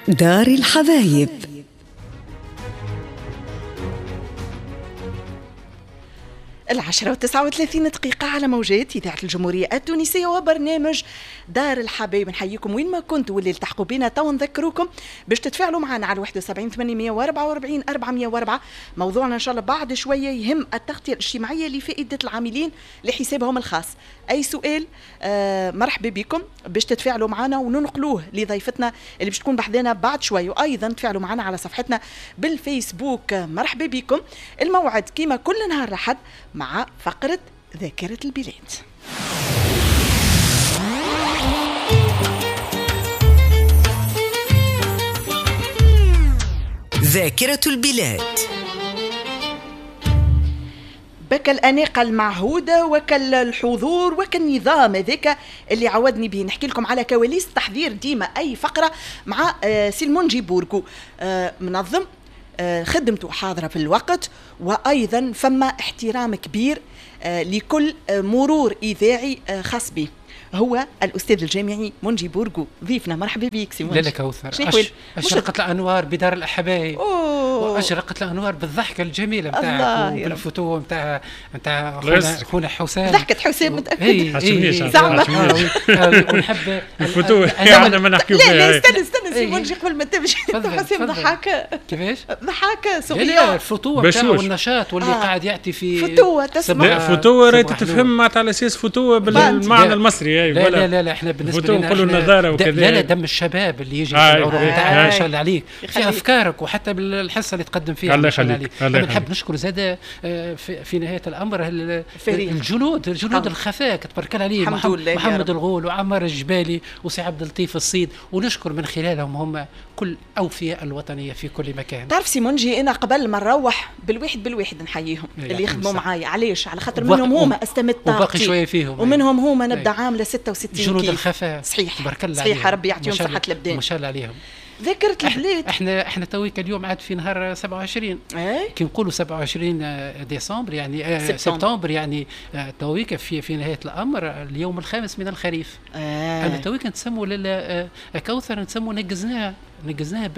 دار الحبايب. 10:39 على موجات إذاعة الجمهورية التونسية وبرنامج دار الحبايب. نحييكم وين ما كنتوا واللي التحقوا بنا تو نذكروكم باش تتفاعلوا معنا على 71 844 404. موضوعنا إن شاء الله بعد شوية يهم التغطية الاجتماعية لفائدة العاملين لحسابهم الخاص. أي سؤال مرحبا بكم باش تتفاعلوا معنا وننقلوه لضيفتنا اللي باش تكون بحذانا بعد شوي، وأيضا تفاعلوا معنا على صفحتنا بالفيسبوك. مرحبا بكم. الموعد كما كل نهار أحد مع فقرة ذاكرة البلاد. ذاكرة البلاد. بك الأناقة المعهودة وكالحضور وكالنظام هذاك اللي عودني به. نحكي لكم على كواليس تحضير ديما أي فقرة مع سي المنجي بوركو، منظم، خدمته حاضرة في الوقت، وأيضا فما احترام كبير لكل مرور إذاعي خاص به. هو الأستاذ الجامعي منجي بورقو ضيفنا. مرحبا بك سي منجي. لا كوثر، أشرقت الأنوار بدار الأحبايب، وأشرقت الأنوار بالضحكة الجميلة نتاعك وبالفتوة نتاع خونا حسام. ضحكة حسام متأكد زعما ونحب الفتوة احنا ما نحكيو فيها. لا استنى استنى سي منجي قبل ما تمشي. حسام ضحك كيفاش؟ ضحك صغير. لا الفتوة نتاعو والنشاط واللي قاعد يعطي في فتوة تسمع. لا فتوة راهي تتفهم معناتها على أساس فتوة بالمعنى المصري. لا لا لا لا احنا بالنسبة لنا نقولوا النظارة وكذا. لا لا دم الشباب اللي يجي في العروض نتاعك ما شاء الله عليك في افكارك وحتى بالحصه اللي تقدم فيها. الله يخليك. انا نحب نشكر زاد في نهاية الامر الجنود الخفاء تبارك الله عليه، محمد الغول وعمر الجبالي وسي عبد اللطيف الصيد، ونشكر من خلالهم هم كل اوفياء الوطنية في كل مكان. تعرف سي منجي انا قبل ما نروح بالواحد بالواحد نحييهم اللي يخدموا معايا. علاش؟ على خاطر منهم هما استمد طاقتي وباقي شوية فيهم، ومنهم هما نبدا عامله 66 جنود الخفاء. صحيح تبارك الله، صحيح، ربي يعطيهم صحة الأبدان ما شاء الله عليهم. ذاكرة البلاد. احنا تويك اليوم عاد في نهار 27. كي نقولوا 27 ديسمبر يعني سبتمبر، يعني تويك في نهاية الأمر اليوم الخامس من الخريف. أنا تويك نسموا كوثر نسموا نقزناها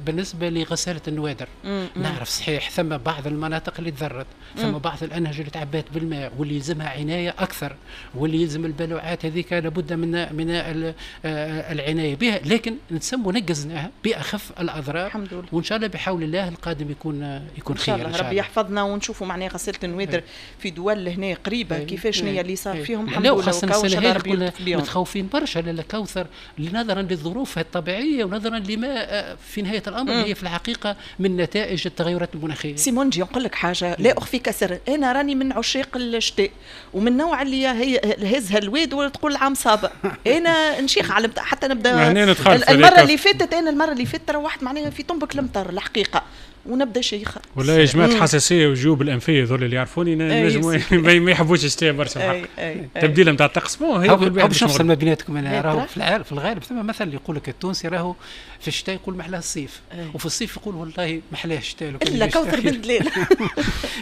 بالنسبة لغسالة النوادر. نعرف صحيح ثم بعض المناطق اللي تضرت، ثم بعض الأنهج اللي تعبات بالماء واللي يلزمها عناية أكثر، واللي يلزم البلوعات هذيك لابد من العناية بها، لكن نسموا نقزناها بأخف الأضرار. الحمد لله، وإن شاء الله بحول الله القادم يكون خير إن شاء الله. ربي يحفظنا ونشوفوا معناها غسالة النوادر في دول هنا قريبة كيفاش هي اللي صار فيهم. الحمد لله. وخاصة السنة هذه متخوفين برشا لالا كوثر نظرا للظروف الطبيعية ونظرا لما في نهاية الأمر هي في الحقيقة من نتائج التغيرات المناخية. سي منجي نقول لك حاجة لا أخفيك سر، أنا راني من عشاق الشتاء ومن النوع اللي هي هزها الواد وتقول العام صابة. أنا نشيخ على حتى نبدا المرة اللي فاتت، أنا المرة اللي فاتت روحت معناها في طنبك المطر الحقيقة ونبدا شيخة. والله يا جماعة الحساسية وجيوب الأنفية ذول اللي يعرفوني نجموا ما يحبوش الشتاء برشا الحق. تبديل نتاع الطقس bon هي باش نفصل ما بيناتكم. انا راهو في الغالب ثم مثل يقول لك التونسي راهو في الشتاء يقول محلاه الصيف، وفي الصيف يقول والله محلاه الشتاء. الا كوثر بن دليل.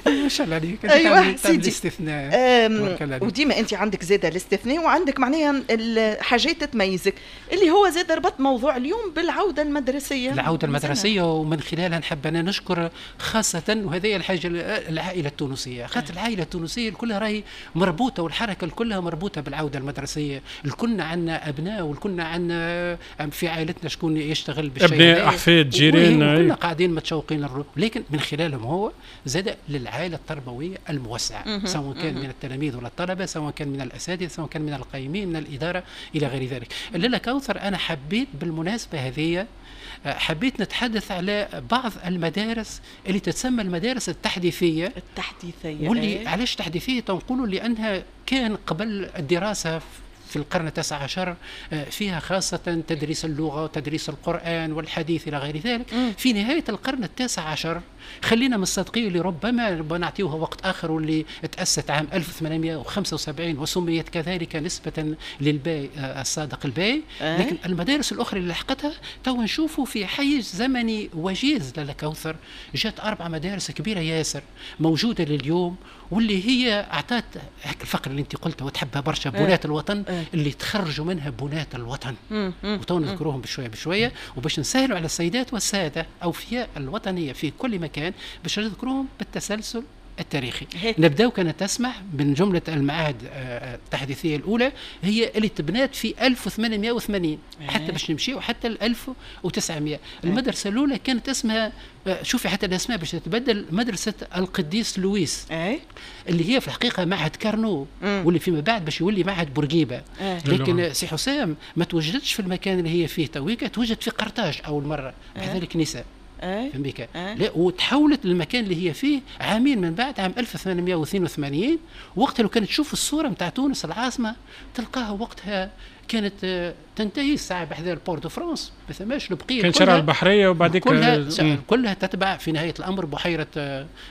ما شاء الله عليك. ايوه سيدي الاستثناء. وديما انت عندك زاده الاستثناء وعندك معناها الحاجات تميزك اللي هو زاد ربط موضوع اليوم بالعودة المدرسية. العودة المدرسية ومن خلالها نحب انا نشكر خاصة وهذه الحاجة العائلة التونسية، خاطر العائلة التونسية كلها راهي مربوطة والحركة كلها مربوطة بالعودة المدرسية. الكلنا عندنا أبناء والكلنا عندنا في عائلتنا شكون يشتغل بالشيء، أبناء أحفاد جيران، كلنا قاعدين متشوقين للروح. لكن من خلالهم هو زاد للعائلة التربوية الموسعة، سواء كان من التلاميذ ولا الطلبة، سواء كان من الأساتذة، سواء كان من القيمين، من الإدارة إلى غير ذلك. لالا كوثر أنا حبيت بالمناسبة هذه حبيت نتحدث على بعض المدارس اللي تتسمى المدارس التحديثية. التحديثية واللي علاش تحديثية تنقولوا لأنها كان قبل الدراسة في القرن التاسع عشر فيها خاصة تدريس اللغة وتدريس القرآن والحديث إلى غير ذلك. في نهاية القرن التاسع عشر خلينا من الصادقيه اللي ربما نعطيوها وقت اخر، واللي تاسست عام 1875 وسميت كذلك نسبه للباي الصادق الباي. لكن المدارس الاخرى اللي لحقتها تو نشوفوا في حيز زمني وجيز لاله كوثر، جات 4 مدارس كبيرة ياسر موجودة لليوم، واللي هي اعطت هيك الفقرة اللي انت قلتها وتحبها برشا، بنات الوطن، اللي تخرجوا منها بنات الوطن، وتو نذكروهم بشوية بشوية، وباش نسهلوا على السيدات والسادة اوفياء الوطنية في كل مكان باش نذكروهم بالتسلسل التاريخي. نبداو كانت تسمح من جملة المعاهد التحديثية الأولى هي اللي تبنات في 1880 حتى باش نمشيو حتى 1900. المدرسة الأولى كانت اسمها، شوفي حتى الأسماء باش تتبدل، مدرسة القديس لويس، اللي هي في الحقيقة معهد كارنو، واللي فيما بعد باش يولي معهد بورقيبة. لكن سي حسام ما توجدتش في المكان اللي هي فيه تويكا، توجد في قرطاج أول مرة بحذا الكنيسة. فهمتك؟ لا، وتحولت للمكان اللي هي فيه عامين من بعد عام 1882. وقتها لو كانت تشوف الصورة نتاع تونس العاصمة تلقاها وقتها كانت تنتهي الساعة بحذا ال Port de France، ما ثماش البقية، كان شارع البحرية وبعديك كلها تتبع في نهاية الامر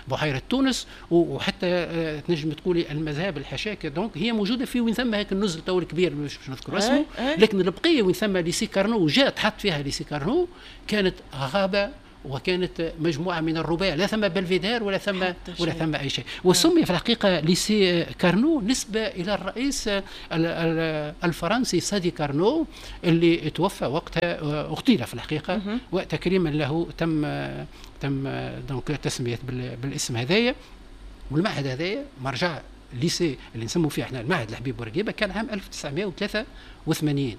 بحيرة تونس، وحتى تنجم تقولي المذاهب الحشاكه. donc هي موجودة في وين ثم هيك النزل تو الكبير مش باش نذكر اسمه، لكن البقية وين ثم lycée Carnot جات حط فيها lycée Carnot كانت غابه وكانت مجموعة من الرباع، لا ثم بلفيدير ولا ثم اي شيء. وسمي في الحقيقة lycée Carnot نسبه الى الرئيس الفرنسي سادي كارنو اللي توفى وقتها، اغتيل في الحقيقة، وتكريما له تم donc تسميه بالاسم هذايا. والمعهد هذايا مرجع lycée اللي نسموا فيه احنا المعهد الحبيب بورقيبة كان عام 1983،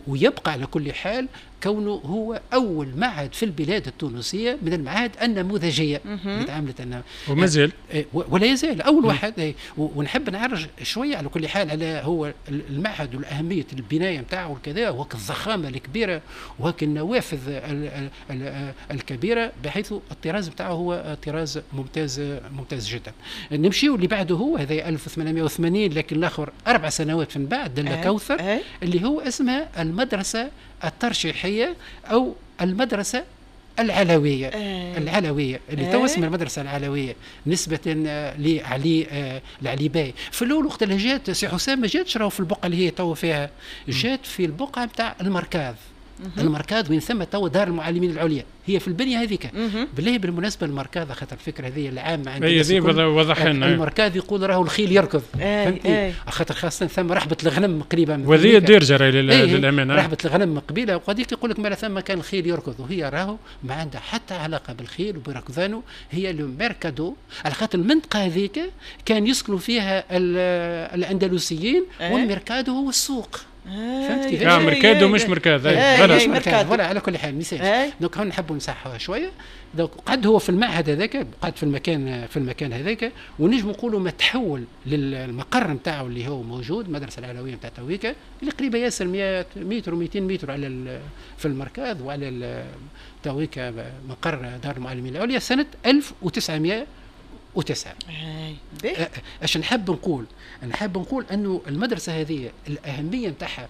ويبقى على كل حال كونه هو اول معهد في البلاد التونسية من المعاهد النموذجيه اللي تعاملت وما زال ولا يزال اول واحد. ونحب نعرج شوية على كل حال على هو المعهد والاهميه البناية نتاعو وكذا، وهك الضخامة الكبيرة وهك النوافذ الكبيرة، بحيث الطراز نتاعو هو طراز ممتاز ممتاز جدا. نمشيو اللي بعده هو هذا 1880، لكن الاخر 4 سنوات من بعد دل كوثر، اللي هو اسمها المدرسة الترشيحيه او المدرسة العلوية. العلوية اللي تو اسمها المدرسة العلوية نسبه لعلي لعلي باي. في الاول وقت اللي جات سي حسام ما جاتش راهو في البقعة اللي هي تو فيها، جات في البقعة نتاع المركز. المركز وين ثم تو دار المعلمين العليا، هي في البنية هذيك. بالله بالمناسبة المركز خاطر الفكرة هذه العامة عند وضح لنا المركز يقول راهو الخيل يركض، فهمتني؟ خاطر خاصة ثم رحبه الغنم قريبه وهذه الدارجة راهي للامانة، رحبه الغنم قبيلة، وهذيك يقول لك ما ثم كان الخيل يركض، وهي راهو ما عندها حتى علاقة بالخيل وبركضانه، هي le mercado. على خاطر المنطقة هذيك كان يسكنوا فيها الاندلسيين، وال mercado هو السوق. فهمت كيفاش؟ mercado مش مركز. voilà على كل حال مثال. donc هون نحبوا نصحوها شوية. donc قعد هو في المعهد هذاك، قعد في المكان هذاك، ونجم نقولوا ما تحول للمقر نتاعو اللي هو موجود المدرسة العلوية نتاع تويكا اللي قريبه ياسر 100 متر و200 متر على في المركز وعلى تويكا مقر دار المعلمين العليا سنة 1909. اش نحب نقول؟ نحب نقول انه المدرسة هذه الاهمية نتاعها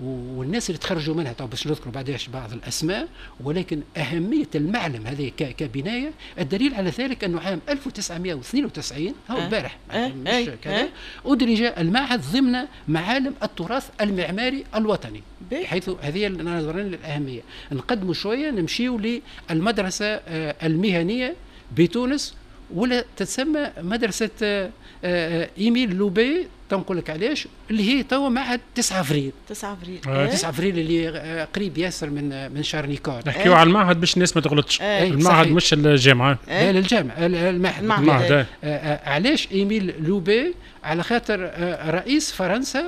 والناس اللي تخرجوا منها، طبعا باش نذكروا بعداش بعض الاسماء، ولكن اهمية المعلم هذه كبنايه، الدليل على ذلك انه عام 1992 هو البارح مش كذا، ادرج المعهد ضمن معالم التراث المعماري الوطني، بحيث هذه نظرا للاهميه. نقدموا شوية نمشيو للمدرسة المهنية بتونس، ولا تتسمى مدرسة إيميل لوبي، تنقول لك علاش، اللي هي توا معهد 9 افريل. 9 افريل 9 افريل اللي قريب ياسر من شارل نيكول. نحكيو على المعهد باش الناس ما تغلطش. المعهد مش الجامعة. لا الجامعة، المعهد. علاش إيميل لوبي؟ على خاطر رئيس فرنسا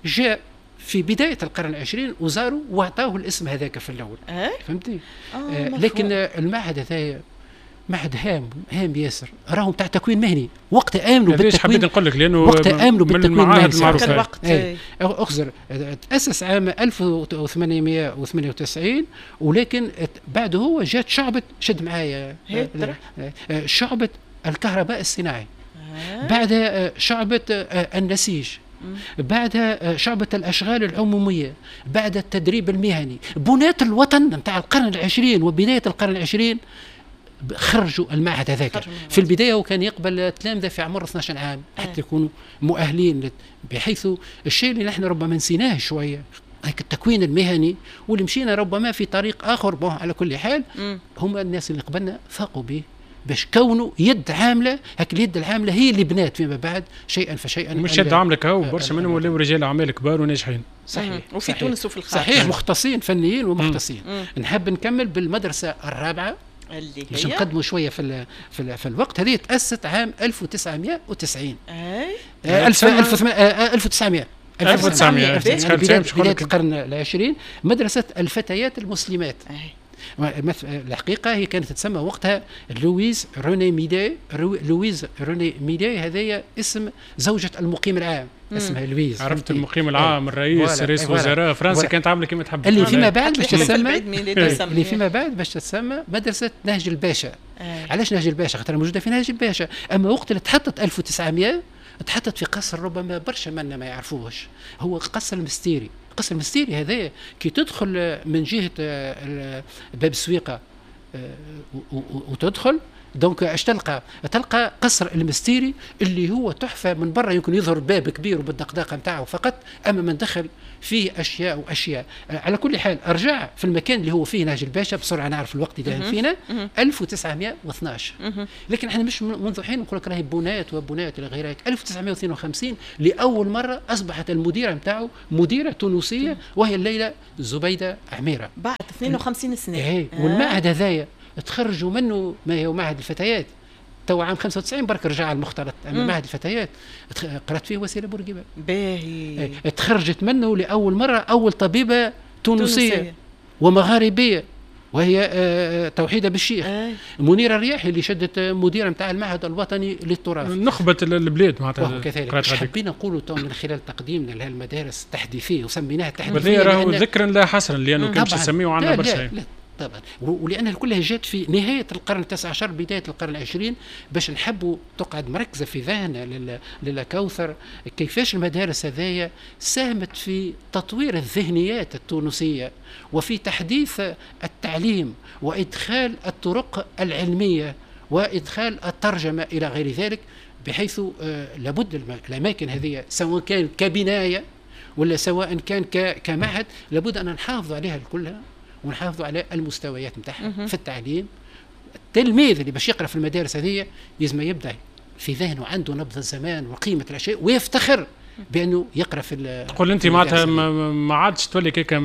جاء في بداية القرن العشرين وزاروا وأعطاه الاسم هذاك في الأول. فهمتي؟ لكن المعهد هذا معهد هام هام ياسر، راهم تاع تكوين مهني. وقت امنوا بالتكوين، حبيت نقول لك لانه وقت امنوا بالتكوين المهني اخزر تاسس عام 1898، ولكن بعده هو جات شعبه، شد معايا، شعبه الكهرباء الصناعي، بعدها شعبه النسيج، بعدها شعبة الأشغال العمومية، بعد التدريب المهني. بناة الوطن نتاع القرن العشرين وبداية القرن العشرين خرجوا المعهد هذاك. في البداية هو كان يقبل تلامذه في عمر 12 عام حتى يكونوا مؤهلين، بحيث الشيء اللي نحن ربما نسيناه شوية هيك التكوين المهني، واللي مشينا ربما في طريق اخر. bon على كل حال هم الناس اللي قبلنا فاقوا به باش كونوا يد عامله، هاك اليد العاملة هي اللي بنات فيما بعد شيئا فشيئا. مش يد عامله كهو، برشا منهم ولاو رجال اعمال كبار وناجحين. صحيح. وفي صحيح. تونس وفي الخارج. صحيح، مختصين فنيين ومختصين. نحب نكمل بالمدرسة الرابعة اللي باش نقدموا شوية في في الوقت. هذه تاسست عام 1990. اي 1900 1900 بداية القرن العشرين، مدرسة الفتيات المسلمات. الحقيقة هي كانت تسمى وقتها لويز روني ميدي. لويز روني ميدي هذايا اسم زوجة المقيم العام، اسمها لويز. عرفت المقيم العام، الرئيس، رئيس وزراء فرنسا كانت عاملة كما تحب. اللي فيما بعد باش تسمى، اللي فيما بعد باش تسمى مدرسة نهج الباشا. علاش نهج الباشا؟ خاطر موجودة في نهج الباشا. أما وقت اللي تحطت 1900 تحطت في قصر ربما برشا منا ما يعرفوهش، هو قصر المستيري. قصر المستيري هذا كي تدخل من جهة باب السويقة وتدخل donc اش تلقى؟ تلقى قصر المستيري اللي هو تحفة من برا، يمكن يظهر باب كبير وبالدقداقه نتاعو فقط، اما من دخل فيه اشياء واشياء. على كل حال ارجع في المكان اللي هو فيه نهج الباشا بسرعة، نعرف الوقت اذا فينا 1912. لكن احنا مش منذ حين نقول لك راهي بنات وبنات الى غير ذلك. 1952 لاول مرة اصبحت المديرة نتاعو مديره تونسية، وهي الليلة زبيده عميرة بعد 52 سنة. ايه. والمعهد هذايا تخرجوا منه ما هو معهد الفتيات تو عام 95 برك رجع المختلط. اما معهد الفتيات قرأت فيه وسيلة بورقيبة. باهي. تخرجت منه لاول مرة اول طبيبه تونسية ومغاربيه، وهي توحيده بالشيخ. منيرة الرياحي اللي شدت مديره نتاع المعهد الوطني للتراث، نخبة البلاد معناتها. كذلك حبينا نقولوا تو من خلال تقديمنا لهالمدارس التحديثيه، وسميناها التحديثية راهو ذكرا لا حصرا، لانه كان باش نسميوه عندنا برشا. طبعا، ولأنها كلها جات في نهاية القرن التاسع عشر بداية القرن العشرين، باش نحبوا تقعد مركزة في ذهننا للكوثر كيفاش المدارس هذايا ساهمت في تطوير الذهنيات التونسية وفي تحديث التعليم وإدخال الطرق العلمية وإدخال الترجمة إلى غير ذلك، بحيث لابد الأماكن هذه سواء كان كبناية ولا سواء كان كمعهد لابد أن نحافظ عليها كلها ونحافظوا على المستويات نتاعها في التعليم. التلميذ اللي باش يقرا في المدارس هذه لازم يبدا في ذهنه عنده نبض الزمان وقيمه الاشياء ويفتخر بانه يقرا في. تقول انت معناتها ما عادش تولي كيكا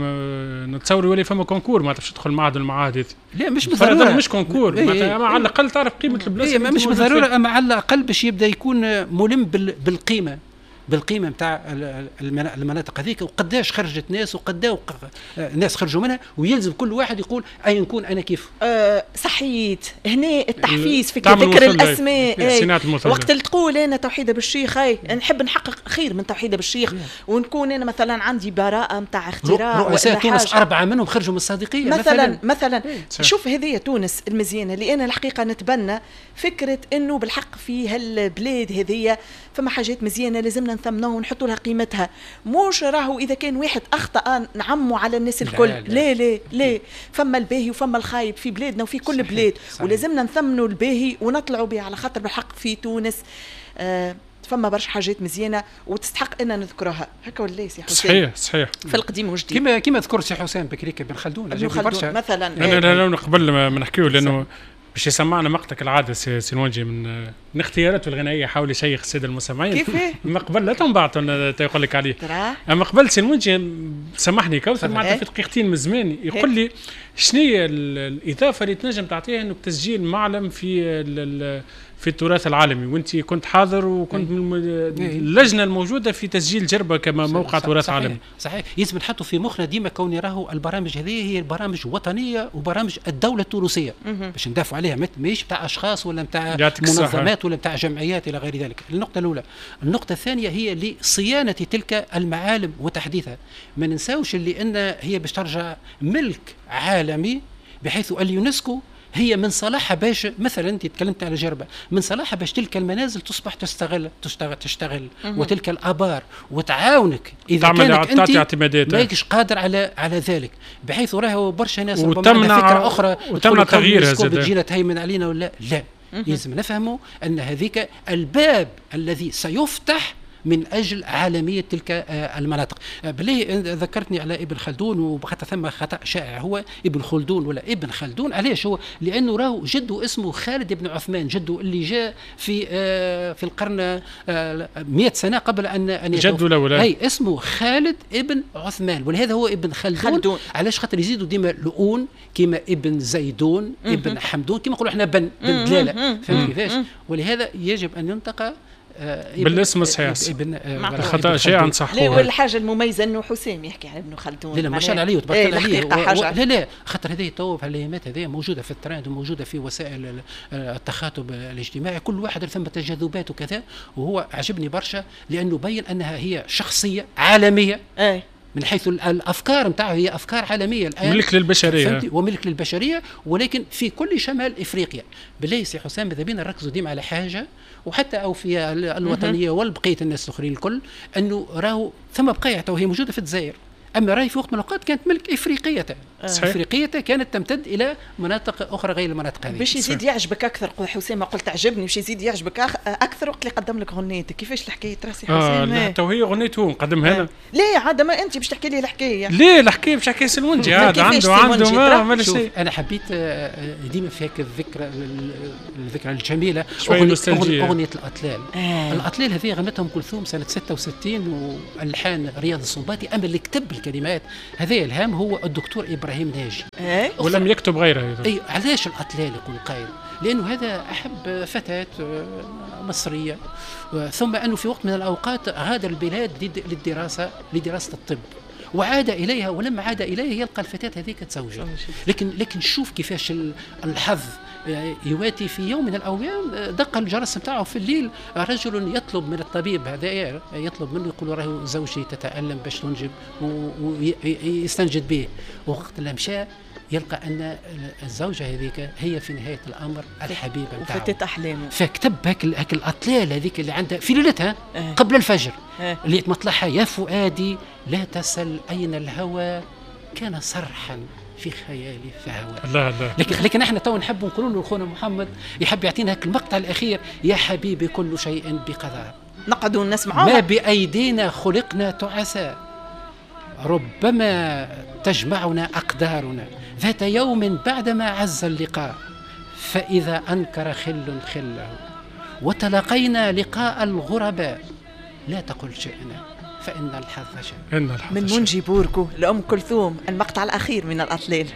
نتصور يولي فما concours معناتها باش تدخل معهد المعاهد. لا مش بالضرورة، مش concours معناتها، اما على الاقل تعرف قيمة البلاصة. مش بالضرورة، اما على الاقل باش يبدا يكون ملم بالقيمة، بالقيمة نتاع المناطق هذيك، وقداش خرجت ناس وقدا ناس خرجوا منها، ويلزم كل واحد يقول اي نكون انا كيف. صحيت هنا التحفيز في ذكر الاسماء. وقت اللي تقول انا توحيده بالشيخ، اي نحب نحقق خير من توحيده بالشيخ، ونكون انا مثلا عندي براءه نتاع اختراع. رؤساء تونس 4 منهم خرجوا من الصادقيه مثلا. شوف هذه تونس المزيانه اللي انا الحقيقة نتبنى فكرة انه بالحق في هالبلاد هذه فما حاجات مزيانه لازمنا نثمنوها ونحطوا لها قيمتها. مش راهو اذا كان واحد اخطا نعموا على الناس الكل. لا لا لا, لا. فما الباهي وفما الخايب في بلادنا وفي كل بلاد. صحيح. ولازمنا نثمنوا الباهي ونطلعوا به، على خاطر بالحق في تونس فما برشا حاجات مزيانه وتستحق ان نذكرها. هكا ولا سي حسين؟ صحيح صحيح. في القديم والجديد كما ذكر سي حسين بكريك بن خلدون مثلا. انا لا قبل ما نحكيو لانه باش يسمعنا مقطع العادة سي نونجي من اختياراته الغنائية حاول يشيخ السادة المستمعين. كيف؟ ما قبل لا تنبعت يقول لك عليه. اما قبل سي نونجي سامحني كوثر معناتها في دقيقتين من زمان يقول لي شنو هي الاضافة اللي تنجم تعطيها انه تسجيل معلم في التراث العالمي، وانت كنت حاضر وكنت من اللجنة الموجودة في تسجيل جربه كما موقع تراث عالمي. صحيح، لازم نحطوا في مخنا ديما كوني راهو البرامج هذه هي البرامج وطنية وبرامج الدولة التونسية باش ندافعوا عليها، ماهيش بتاع اشخاص ولا بتاع منظمات ولا بتاع جمعيات الى غير ذلك. النقطة الاولى. النقطة الثانية هي لصيانه تلك المعالم وتحديثها. ما ننساوش اللي ان هي باش ترجع ملك عالمي، بحيث اليونسكو هي من صلاحها باش مثلا انت تكلمت على جربه، من صلاحها باش تلك المنازل تصبح تشتغل وتلك الابار وتعاونك اذا كانت انت ماكش قادر على ذلك، بحيث راهو برشا ناس ربما فكرة اخرى وتمنع تغييرها تجينا تهيمن علينا ولا لا. لازم نفهموا ان هذيك الباب الذي سيفتح من اجل عالمية تلك المناطق. بالله ذكرتني على ابن خلدون، وحتى ثم خطا شائع، هو ابن خلدون ولا ابن خلدون؟ علاش هو؟ لانه راهو جده اسمه خالد بن عثمان، جده اللي جاء في القرن 100 سنة قبل ان جده الاول، اي اسمه خالد ابن عثمان، ولهذا هو ابن خلدون. علاش؟ خاطر يزيدوا ديما لؤون كيما ابن زيدون، ابن حمدون، كيما نقولوا احنا بن دلالة، فهمت كيفاش؟ ولهذا يجب ان ينطق بالاسم الصحيح. الخطا شيء نصحوه. لا، والحاجة المميزة انه حسام يحكي على ابن خلدون. لا ما شاء الله عليه وتبارك الله عليه. لا لا، خاطر هذه تو في الايامات هذه موجودة في الترند وموجودة في وسائل التخاطب الاجتماعي، كل واحد ثم تجاذبات وكذا، وهو عجبني برشا لانه بين انها هي شخصية عالمية. من حيث الافكار نتاعه هي افكار عالمية الان، ملك للبشرية، وملك للبشرية، ولكن في كل شمال افريقيا. بالله سي حسام ماذا بينا نركزوا ديما على حاجة، وحتى او في الوطنية والبقية الناس الاخرين الكل، انه راهو ثم بقايع تو هي موجودة في الجزائر، اما راهي في وقت من الاوقات كانت ملك افريقية. افريقية كانت تمتد الى مناطق اخرى غير المناطق هذه. باش يزيد يعجبك اكثر حسام، قلت عجبني، باش يزيد يعجبك اكثر وقت اللي قدم لك غنيتك، كيفاش الحكاية تراسي حسام؟ لا تو هي غنيته نقدمها انا. ليه عاد ما انت باش تحكي لي الحكاية؟ ليه الحكاية باش تحكي سلمونجي؟ عاد عنده ما شيء. انا حبيت ديما في هيك الذكرى الجميلة، اغنية الاطلال. الاطلال هذه غنتها ام كلثوم سنة 66 والحان رياض السنباطي، اما اللي كتب الكلمات هذا الهام هو الدكتور ابراهيم ناجي، ولم يكتب غيره. اي علاش الاطلال يقول قائل؟ لانه هذا احب فتاة مصرية، ثم انه في وقت من الاوقات غادر البلاد لدراسة الطب، وعاد اليها، ولما عاد اليها يلقى الفتاة هذيك تزوجت. لكن شوف كيفاش الحظ يواتي. في يوم من الايام دق الجرس نتاعه في الليل، رجل يطلب من الطبيب هذا، يطلب منه يقول راهو زوجتي تتالم باش تنجب، ويستنجد به. وقت اللي مشى يلقى ان الزوجة هذيك هي في نهاية الامر الحبيبة نتاعو وفتت احلامه. فكتب هاك الاطلال هذيك اللي عندها في ليلتها قبل الفجر، اللي مطلعها يا فؤادي لا تسل اين الهوى كان صرحا في خيالي فهوى. الله الله. لكن احنا تو نحب نقولوا له خونا محمد يحب يعطينا هاك المقطع الاخير، يا حبيبي كل شيء بقضاء، نقعدوا نسمعوها، ما بايدينا خلقنا تعسى، ربما تجمعنا أقدارنا ذات يوم بعدما عز اللقاء، فإذا أنكر خل خله وتلاقينا لقاء الغرباء، لا تقل شئنا فإن الحظ شاء. من منجي بوركو لأم كلثوم، المقطع الأخير من الأطلال.